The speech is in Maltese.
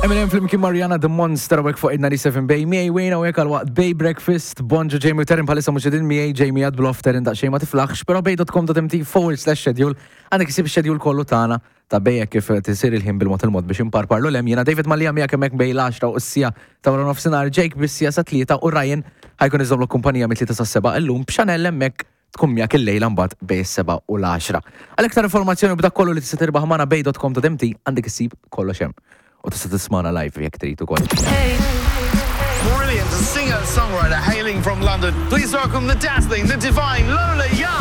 Eminem flimkien Mariana The Monster u fuq id-97 Bay miegħi wejna u hekk għal waqt Bay Breakfast. Bonġu Jamie u Terin bħalissa mhux qegħdin miegħi Jamie għad blof Terin daqsxejn ma tiflaħx, però bay.com.mt forward slash schedule għandek isib schedule kollu tagħna ta' Bay hekk kif tisir il-ħin bil-mod il-mod biex imparparlu lem. Jiena David Mallia miegħek hemmhekk bejn l-10 u s-sija ta' wara nofsinhar, Jake bis-sija sa tlieta u Ryan ħajkun iżommlok kumpanija mit-tlieta sas-seba' illum b'Chanel hemmhekk tkun miegħek illejla mbagħad bejn is-sebgħa u l-għaxra. Għal iktar informazzjoni u b'dak kollu li tista' tirbaħ magħna bay.com.mt għandek issib kollox hemm. U tista' tismagħna live jekk trid ukoll. Brilliant singer-songwriter hailing from London. Please welcome the dazzling, the divine Lola Young.